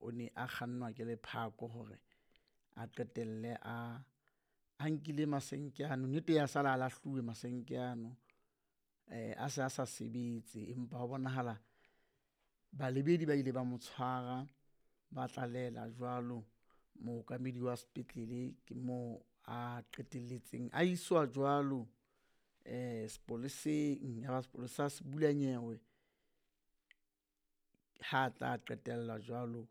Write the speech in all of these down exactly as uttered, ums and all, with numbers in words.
o ne a kgannwa ke lephako hore a qetelle a a nkile masenke ano. Nnete ya sala a lahluwe masenke ano a se a sa sebetse, empa ho bonahala balebedi ba ile ba mo tshwara ba tlalehela jwalo mookamedi wa sepetlele ke moo a qetelletseng a iswa jwalo sepoleseng. Ya ba sepolesa se bula nyewe ha tla qetella jwalo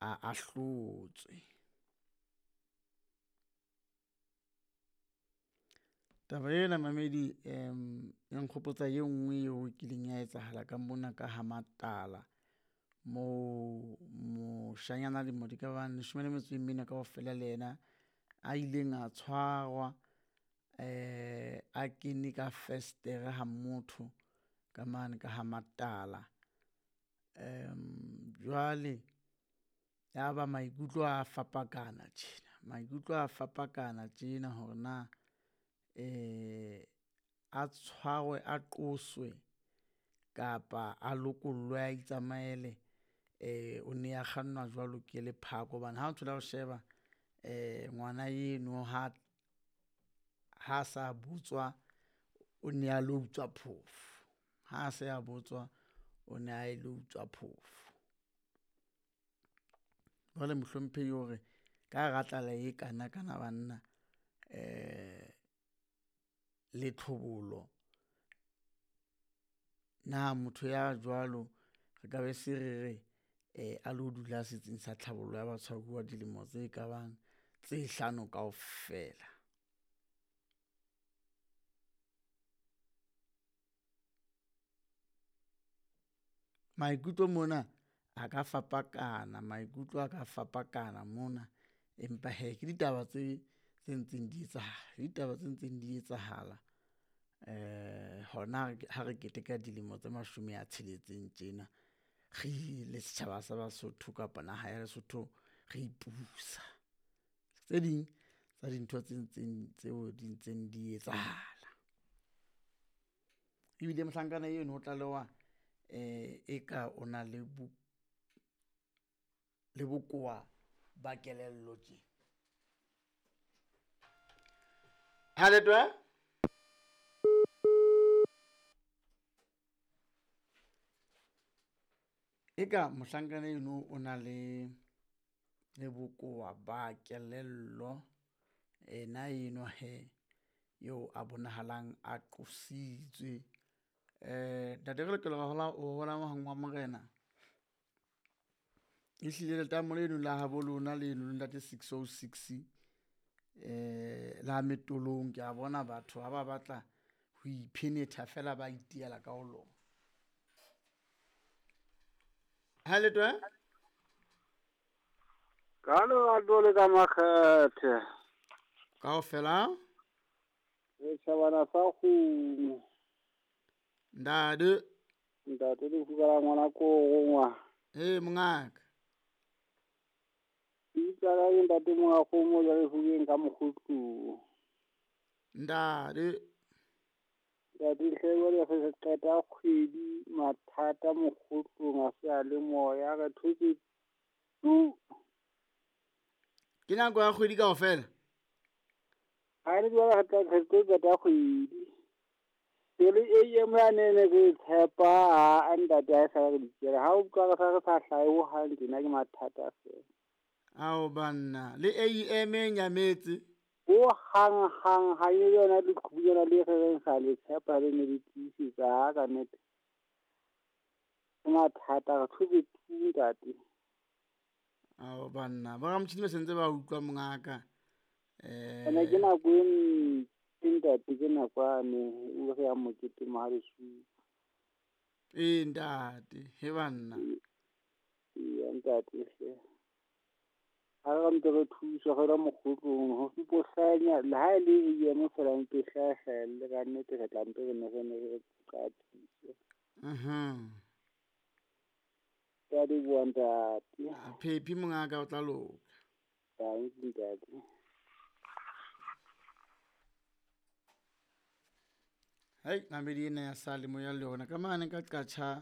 a ahlotswe. Taba ena mamedi e nkgopotsa e nngwe eo e kileng ya etsahala ka mona ka ha matala, moo moshanyana a dilemo di ka bang leshome le metso e mene kaofela le yena a ileng a tshwarwa a kene ka festere ha motho ka mane ka ha matala. Jwale ya ba maikutlo a fapakana tjena, maikutlo a fapakana tjena hore na a tshwarwe a qoswe kapa a lokollwe a itsamaele o ne a kgannwa jwalo ke lephako. Hobane ha o thola o sheba ngwana eno ha, ha sa butswa o ne a lo utswa phofo, ha se a botswa o ne a ilo utswa phofo. Jwale mohlomphehi o re ka hara tlala e kanakana banna le tlhobolo, na motho ya jwalo re ka be se re re a lo dula setsing sa tlhabollo ya batshwaruwa dilemo tse kabang tse hlano kaofela. Maikutlo mona a ka fapakana, maikutlo a ka fapakana mona, empa hee ke ditaba tse tse ntseng di etsahala, ke ditaba tse ntseng di etsahala hona ha re keteka dilemo tse mashome a tsheletseng tjena re le setjhaba sa Basotho kapa naha ya Lesotho re ipusa. Tse ding tsa dintho tse ntseng tseo di ntseng di etsahala. Ebile mohlankana eno o tlalewa eka o na le bo, le bokowa ba kelello tje. Ha Eka mohlankana eno o na le le bokowa ba kelello ena eno hee eo a bonahalang a qositswe. Ntate re lokela ho hola wa morena, ehlile letamo leno la habo lona leno le ntate six oh six la Metolong ke a bona batho ha ba batla ho iphenetha feela ba itiela ka ho lona. Ha le? Ka lerato le ka makgethe. Kaofela? Setjhabana sa kgomo. Ntate. Ntate lefuka la ngwana ko rongwa. Ee mongaka. Bitsa ka ntate monga kgomo jwale fukeng ka mokgotlong. Ntate. Ntate hle jwale re qeta kgwedi mathata mokgotlong a se a le moya re thotse tu. Ke nako ya kgwedi kaofela? Ha re jwale re tla re tlo qeta kgwedi. Pele A M ya ne ne re tshepa ha ntate ha e sa re dikela. Ha o utlwa re sa re sa hlahe ho hang tjena ke mathata feela. Ao banna, le A M e nyametse. Ho hang hang ha e yona leqhubu le re reng sa le tshepa le ne le tiisetsa ha ka nnete. Ke mathata re thotse tu ntate. Ao banna, ba ramotjhini ba sentse ba utlwa mongaka. Eh Ene ke nako e ntle ntate, ke nako ane o re ya mokete Mohalesupa. Ee ntate, he banna. Ee ntate hle. Ha re ntse re thuswa re la mokgotlong ho fipohlanya le ha e le A M fela mpe hlahlelle ka nnete re tla mpe re ne re ne re qatise. Mhm. Ke a leboha ntate. Phephi mongaka o tla loka. Dankie ntate. Hei, namedi ena ya sale moya le yona ka mane ka qatjha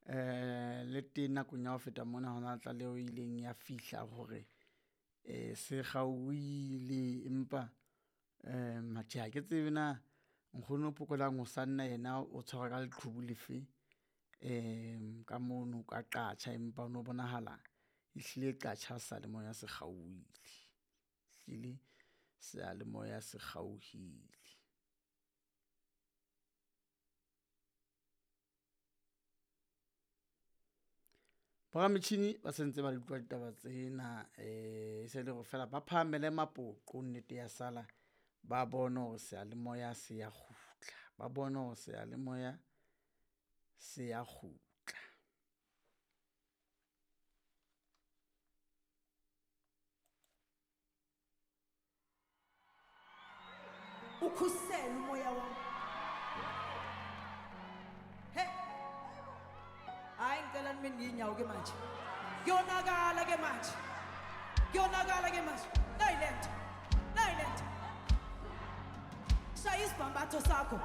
Eh le teng nakong ya ho feta mona hona tlaleho e ileng ya fihla hore eh se kgaohile empa eh matjhe ha ke tsebe na nkgono Phokolang o sanna yena o tshwarwa ka leqhubu lefe um ka mono ka Qacha, empa ho no bonahala ehlile Qacha seyalemoya se kgaohile. Ehlile seyalemoya se kgaohile. Borametjhini ba sentse ba di utlwa ditaba tsena eh se le hore fela ba phahamele mapoqo nnete ya sala, ba bone hore seyalemoya se ya kgutla, ba bone hore seyalemoya se ya kgutla. Ukhusele umoya wami. He, hayi, ngicela nime ngey'nyawo ke manje. Kuyonakala ke manje, kuyonakala ke manje. Nayi lento, nayi lento. Shaya isibhambatho sakho.